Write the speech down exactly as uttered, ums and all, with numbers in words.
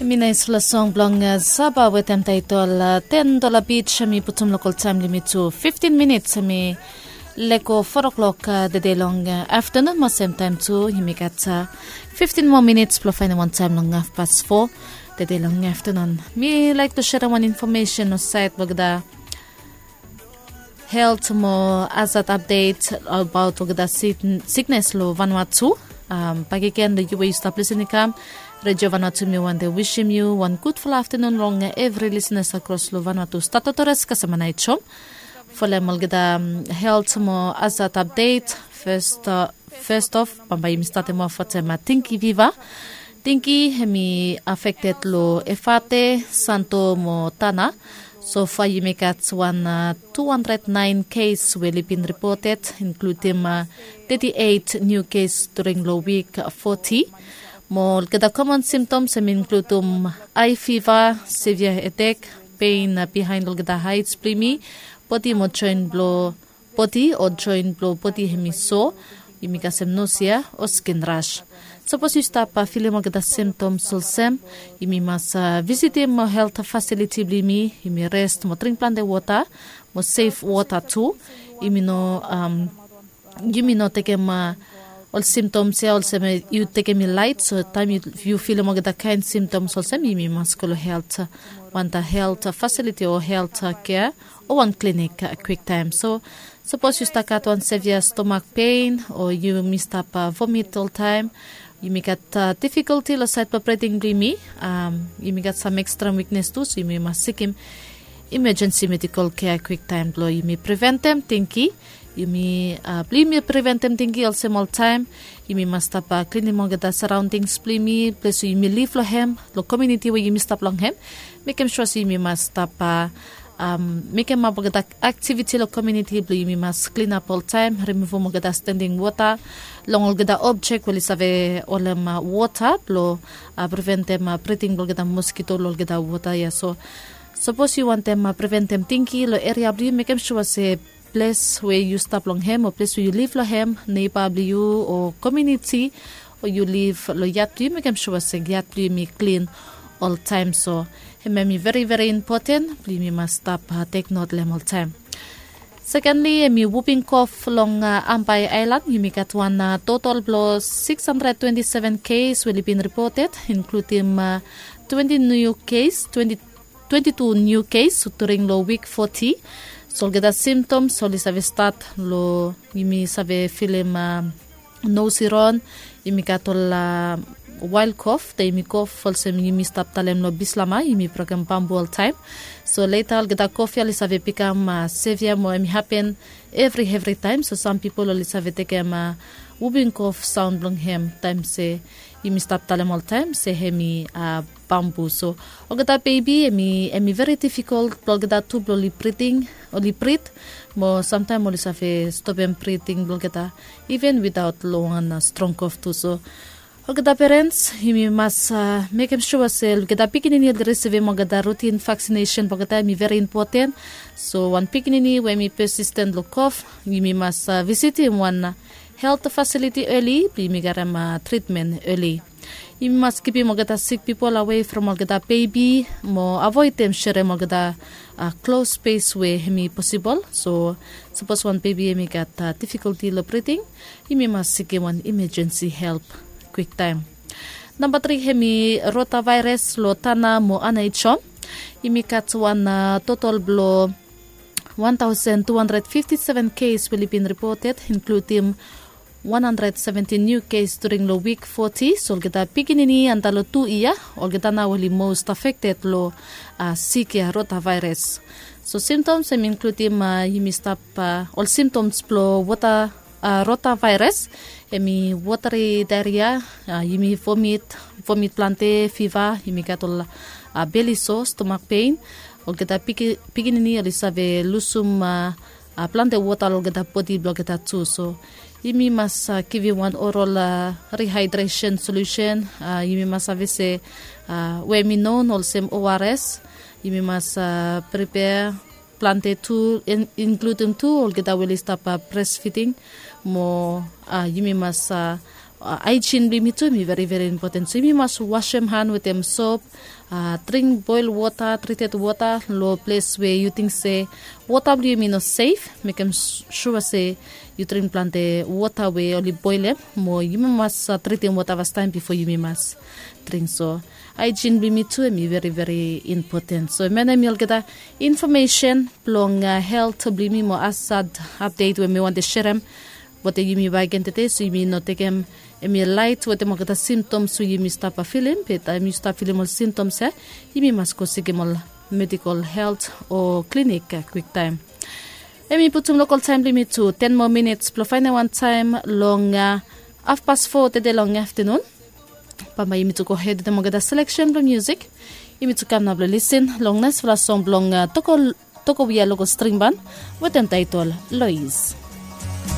Mi naispela song bilong saba wetem taitol ten dola bits. Mi putum lokal taim limit tu fiftin minits. Mi lego four o'clock dede long aftanun mo sem taim tu yumi gat fiftin moa minits bilong fainim wan taim long hafpas four dede long aftanun. Mi laik tu serim wan infomesen o sait blong da helt mo azat apdet abaut olgeta siknes long vanua tu. Bakegen long yu we yu stap lisin i kam redio vanua tu, mi wante wisim yu wan gudfala aftanun long evri lisinas akros long vanua tu. Statotores kasama nait som folem olgeta helt mo azat apdet. Fes of bambae yumi statim of watem tingki viva. Tingki hem i afekted long efate, santo mo tana. Sofa yumi gat wan tu handred nain kes we oli bin ripoted, inkludim teti eit niu kes during long wik foti. Mo olgeta komon simtoms hem i inkludim ai fiva, sevia hedek, pein bihain olgeta haits blong yumi, bodi mo join blong bodi o join blong bodi hem i so, yumi kasem nosia o skin ras. Sapos yu stap filim olgeta simtoms olsem, yumi mas visitim helt fasiliti blong yumi. Yumi rest mo dring plante wota mo sef wota tu. Yumi no yumi no tekem ol simtoms ya olsem yu tekem i lait. So taim yu filim olgeta kain simtoms olsem, yumi mas go long helt, wanta helt fasiliti o helt kea o wan klinik kwiktaim. So sapos yu stap gat wan sevia stomak pein o yumi stap vomit oltaim, yumi gat difikulti long sait blong breding blong yumi, yumi gat sam ekstra wiknes tu, so yumi mas sikim imajensi medikal kea kwiktaim blong yumi preventem tingki. Yumi blong yumi preventem tingki olsem oltaim, yumi mas stap klinim olgeta saraondings blong yumi, ples we yumi liv long hem, long komuniti we yumi stap long hem. Mekem sua se yumi mas stap mekem ap olgeta aktiviti long komuniti blong yumi mas klinap oltaim, rimuvum olgeta standing wota long olgeta objek we oli save holem wota blong preventem briding blong olgeta moskito long olgeta wota ya. So sapos yu wantem preventem tingki long eria blong yu, mekem sua se ples we yu stap long hem o ples we yu liv long hem, neiba blong yu o komuniti o yu liv long yat blong yu, mekem sua se yat blong yumi klin oltaim. So em em i veri veri impoten blong yumi mas stap teknot long em oltaim. Sekenli em i wuping kof long ambai ailan. Yumi gat wan totol blong six hundred twenty seven kes we oli bin ripoted, inkludim twenty niu kes, twenty twenty tu niu kes during long wik foti. So olgeta simtoms oli save stat long yumi save filim nos i ron, yumi gat ol wail kof, de yumi kof olsem yumi stap talem long bislama yumi brokem bambu oltaim. So leta olgeta kof ya oli save bikam sevia mo em i hapen evri evri taim. So sam pipol oli save tekem wubing kof saun blong hem taim se yumi stap talem oltaim se em i bambu. So olgeta bebi em i veri difikol blong olgeta tu blong oli briding, oli brit, mo samtaim oli save stopem briding blong olgeta iven witaot long wan strong kof tu. So olgeta perens, yumi mas mekem sua se olgeta pikinini oli risivim olgeta rutin vaksinesen blong olgeta, em i veri impoten. So wan pikinini we em i pesisten long kof, yumi mas visitim wan helt fasiliti eli blong yumi garem tritmen eli. Yumi mas kipim olgeta sik pipol awe from olgeta bebi mo avoidem serem olgeta klos spes we em i posibol. So sapos wan bebi em i gat difikulti long briding, yumi mas sikim wan imajensi help kwiktaim. Namba tri em i rotavairas long tana mo anaitom. Yumi gat wan totol blong wan tausen tu handred fifti seven kes we oli bin ripoted, inkludim wan handred seventi niu kes during long wik foti. So olgeta pikinini antap long tu yia, olgeta nao oli most afekted long sik ya, rotavairas. So simtoms em i inkludim yumi stap, ol simtoms blong wota rotavairas em i wotari daeria, yumi vomit, vomit plante, fiva, yumi gat ol beli so, stomak pein. Olgeta pikinini oli save lusum plante wota long olgeta bodi blong olgeta tu. So yumi mas givim wan orol rihaidresen solusen. Yumi mas save se we em i non olsem ors, yumi mas pripea plante tu, inkludim tu olgeta we oli stap bresfiding. Mo yumi mas Haijin blong yumi tu em i veri veri impoten, so yumi mas wasem han wetem sop, dring boel wota, trited wota long ples we yu ting se wota blong yumi no sef. Mekem sua se yu dring plante wota we oli boelem, mo yumi mas tritim wota fastaem bifo yumi mas dring. So haijin blong yumi tu em i veri veri impoten. So em ya na em i olgeta infomesen blong helt blong yumi mo asad apdet we mi wantem serem wetem yumi bakegen tede. So yumi no tekem em i laet wetem olgeta simtoms we yumi stap filim, be taem yu stap filim ol simtoms ya, yumi mas go sikim ol medikol helt o klinik kwiktaem. Em i putum lokol taem blong yumi tu ten moa minits blong faenem wantaem long hafpas fo tede long aftanun. Bambae yumi tu gohed wetem olgeta seleksen blong musik. Yumi tu kam nao blong lisin long naesfala song blong tokowia lokol stringban wetem taetol lois.